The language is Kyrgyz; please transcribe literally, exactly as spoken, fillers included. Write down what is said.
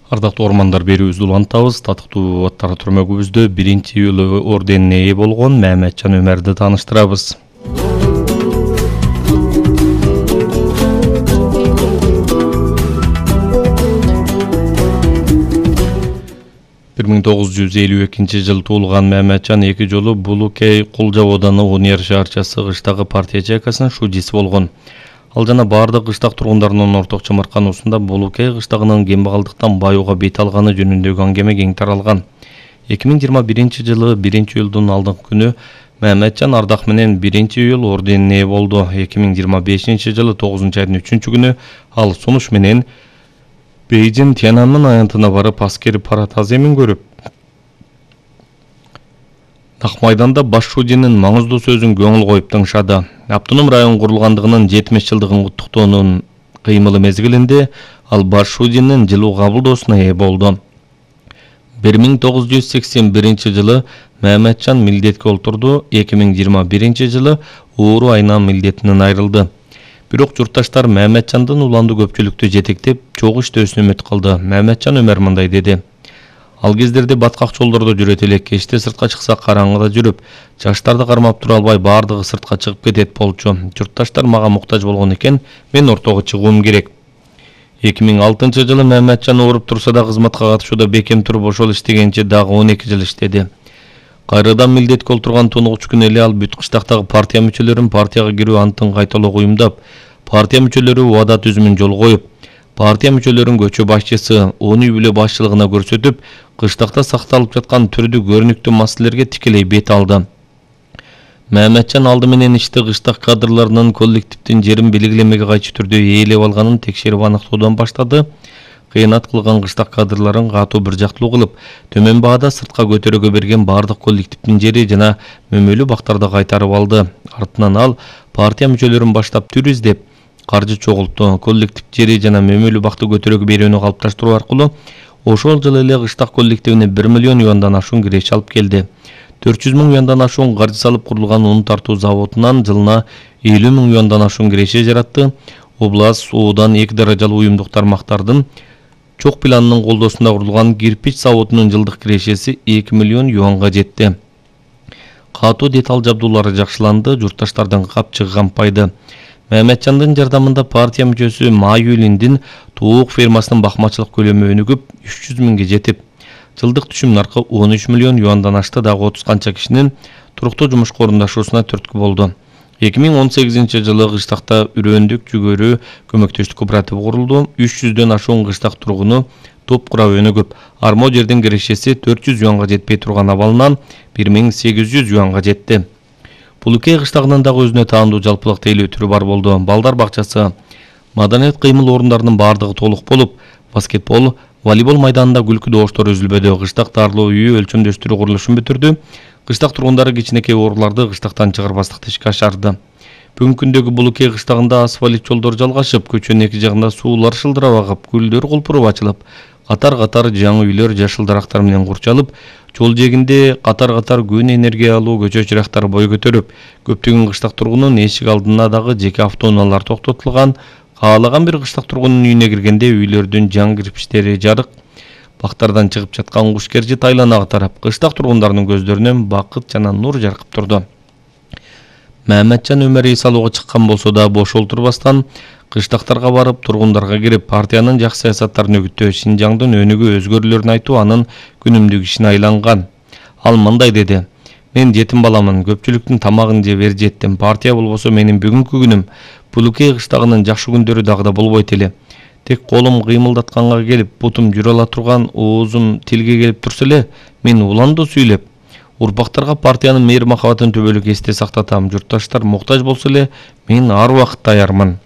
Ардактуу ормандар берүүбүздү улантабыз. Татыктуу аттар түрмөгүбүздө биринчи июль орденине ээ болгон Маматжан Өмөрдү тааныштырабыз. бир миң тогуз жүз элүү экинчи жылы туулган Маматжан эки жолу Булукей Кулжа ооданы Унер шаарчасы кыштагы партия чайкасынын шудиси болгон. Ал жана бардык кыштак тургундарынын орток чымыркануусунда Булукей кыштагынын кембагалдыктан баюуга бет алганы жөнүндөгү аңгеме кең таралган. эки миң жыйырма биринчи жылы биринчи июлдун алдыңкы күнү Маматжан ардак менен биринчи июль орденине ээ болду. эки миң жыйырма бешинчи жылы тогузунчу айдын үчүнчү күнү ал сунуш менен Бейжин Тяньаньмэн аянтына барып аскери парад аземин көрүп, Нак майданда баш шудинин маңыздуу сөзүн көңүл коюп тыңшады. Автоном район курулгандыгынын жетимиш жылдыгын куттуктоонун кыймылы мезгилинде ал баш шудинин жылуу кабылдоосуна ээ болду. бир миң тогуз жүз сексен биринчи жылы Маматжан милдетке олтурду, эки миң жыйырма биринчи жылы ууру айынан милдетинен айрылды. Бирок журтташтар Маматжандын уландуу көпчүлүктү жетектеп, чогуу иштөөсүнө үмүт кылды. Маматжан Өмөр мындай деди: Ал кездерде баткак жолдордо жүрөт элек, кечте сыртка чыкса караңгыда жүрүп, жаштарды кармап тура албай бардыгы сыртка чыгып кетет болчу. Журтташтар мага муктаж болгон экен, мен ортого чыгуум керек. эки миң алтынчы жылы Маматжан ооруп турса да кызматка катышууда бекем туруп ошол иштегенче дагы он эки жыл иштеди. Кайрадан милдетке олтурган тунугуч күнү эле ал бүт кыштактагы партия мүчөлөрүн партияга кирүү антын кайталоого уюмдап, партия мүчөлөрү убада түзүмүн жолго коюп, партия мүчөлөрүн көчө башчысы, он үй бүлө башчылыгына көрсөтүп, кыштакта сакталып жаткан түрдүү көрүнүктүү маселелерге тикелей бет алды. Маматжан алды менен ишти кыштак кадрларынын коллективдин жерин белгилемеге кайчы түрдө ээлеп алганын текшерип аныктоодон баштады. Кыянат кылган кыштак кадрларын катуу бир жактылуу кылып, төмөн баада сыртка көтөрүүгө берген бардык коллективдин жери жана мөмөлүү бактарды кайтарып алды. Артынан ал партия мүчөлөрүн баштап түр издеп, каржы чогултту. Коллектив жери жана мөмөлүү бакты көтөрүүгө берүүнү калыпташтыруу аркылуу ошол жылы эле кыштак коллективине бир миллион юандан ашуун киреше алып келди. төрт жүз миң юандан ашуун каржы салып курулган ун тартуу заводунан жылына элүү миң юандан ашуун киреше жаратты. Област оодан эки даражалуу уюмдук тармактардын чок планынын колдоосунда курулган кирпич заводунун жылдык кирешеси эки миллион юанга жетти. Катуу деталь жабдуулары жакшыланды, журтташтардын капчыгы кампайды. Маматжандын жардамында партия мүчөсү Майюлиндин туук фермасынын бакмачылык көлөмү өнүгүп үч жүз миңге жетип, жылдык түшүм наркы он үч миллион юандан ашты. Дагы отуз канча кишинин туруктуу жумушка орундашуусуна түрткү болду. эки миң он сегизинчи жылы кыштакта Үрөндүк жүгөрү көмөктөштүк кооперативи курулду. үч жүздөн ашуун кыштак тургуну топ курап өнүгүп, армо жердин кирешеси төрт жүз юанга жетпей турган абалынан бир миң сегиз жүз юанга жетти. Булукей кыштагынын дагы өзүнө таандуу жалпылык тейлөө түрү бар болду. Балдар бакчасы, маданият кыймыл орундарынын бардыгы толук болуп, баскетбол, волейбол майданында күлкү добуштор үзүлбөдү. Кыштак даарылоо үйү өлчөмдөштүрүү курулушун бүтүрдү. Кыштак тургундары кичинекей ооруларды кыштактан чыгарбастыкты ишке ашарды. Бүгүнкү күндөгү Булукей кыштагында асфальт жолдор жалгашып, көчөнүн эки жагында суулар шылдырап агып, гүлдөр кулпуруп ачылып, катар-катар жаңы үйлөр жашыл дарактар менен курчалып, жол жээгинде катар-катар күн энергиялуу көчө чырактары бой көтөрүп, көптөгөн кыштак тургунун эшик алдына дагы жеке автоунаалар токтотулган. Каалаган бир кыштак тургунун үйүнө киргенде үйлөрдүн жаңы кирпичтери жарык, бактардан чыгып жаткан куш кержи тайланага тарап, кыштак тургундарынын көздөрүнөн бакыт жана нур жаркып турду. Маматжан Өмөр эс алууга чыккан болсо да бош олтурбастан, кыштактарга барып, тургундарга кирип, партиянын жакшы саясаттарын өгүттөө, Шинжаңдын өнүгүү өзгөрүүлөрүн айтуу анын күнүмдүк ишине айланган. Ал мындай деди: Мен жетим баламын, көпчүлүктүн тамагын жеп эр жеттим. Партия болбосо менин бүгүнкү күнүм, Булукей кыштагынын жакшы күндөрү дагы да болбойт эле. Тек колум кыймылдатканга келип, бутум жүрө ала турган, оозум тилге келип турса эле, мен уландуу сүйлөп, урпактарга партиянын мейир махабатын түбөлүк эсте сактатам. Журтташтар муктаж болсо эле, мен ар убакыт даярмын.